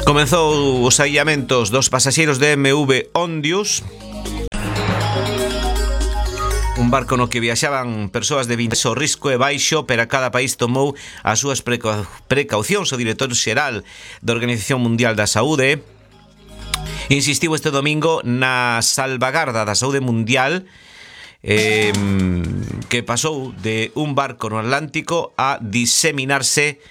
Comezou os aillamentos dos pasaxeiros de MV Ondius, un barco no que viaxaban persoas de 20. O risco é baixo, pero cada país tomou as súas precaucións. O director xeral da Organización Mundial da Saúde insistiu este domingo na salvagarda da saúde mundial, que pasou de un barco no Atlántico a diseminarse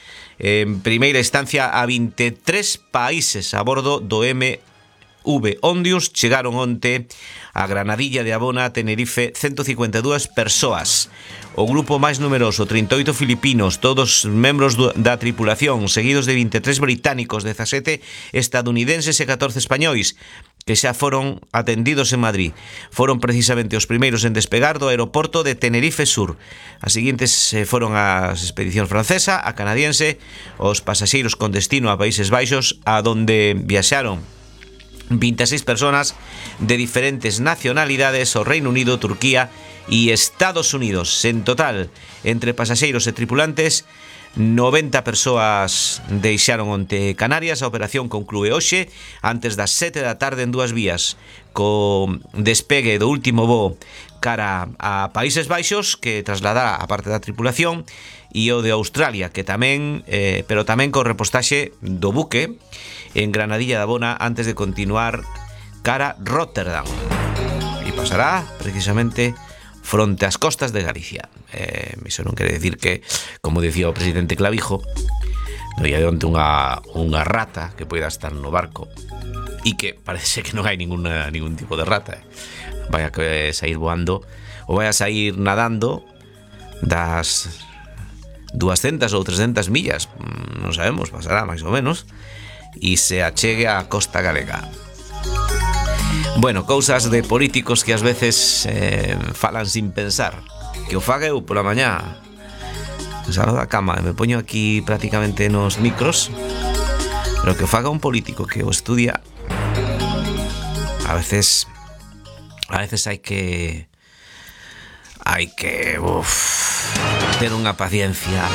en primeira instancia a 23 países a bordo do MV Ondius. Chegaron onte a Granadilla de Abona, Tenerife, 152 persoas. O grupo máis numeroso, 38 filipinos, todos membros da tripulación, seguidos de 23 británicos, 17 estadounidenses e 14 españois, que xa foron atendidos en Madrid. Foron precisamente os primeiros en despegar do aeroporto de Tenerife Sur. As seguintes foron as expedicións francesa, a canadiense, os pasaxeiros con destino a Países Baixos, a donde viaxaron 26 personas de diferentes nacionalidades, o Reino Unido, Turquía e Estados Unidos. En total, entre pasaxeiros e tripulantes, 90 persoas deixaron onte Canarias. A operación conclúe hoxe antes das 7 da tarde en dúas vías, co despegue do último voo cara a Países Baixos, que trasladará a parte da tripulación, e o de Australia, que tamén, pero tamén co repostaxe do buque en Granadilla de Abona antes de continuar cara Rotterdam, e pasará precisamente fronte ás costas de Galicia. Iso non quere decir que, como dicía o presidente Clavijo, no ia de onte unha rata que poida estar no barco, e que parece que non hai ningún tipo de rata. Vai a sair voando ou vai a sair nadando das 200 ou 300 millas, non sabemos, pasará máis ou menos, e se achegue á costa galega. Bueno, cousas de políticos que ás veces falan sin pensar. Que o faga eu pola mañá, salgo da cama e me poño aquí prácticamente nos micros, pero que o faga un político que o estudia. A veces hai que ter unha paciencia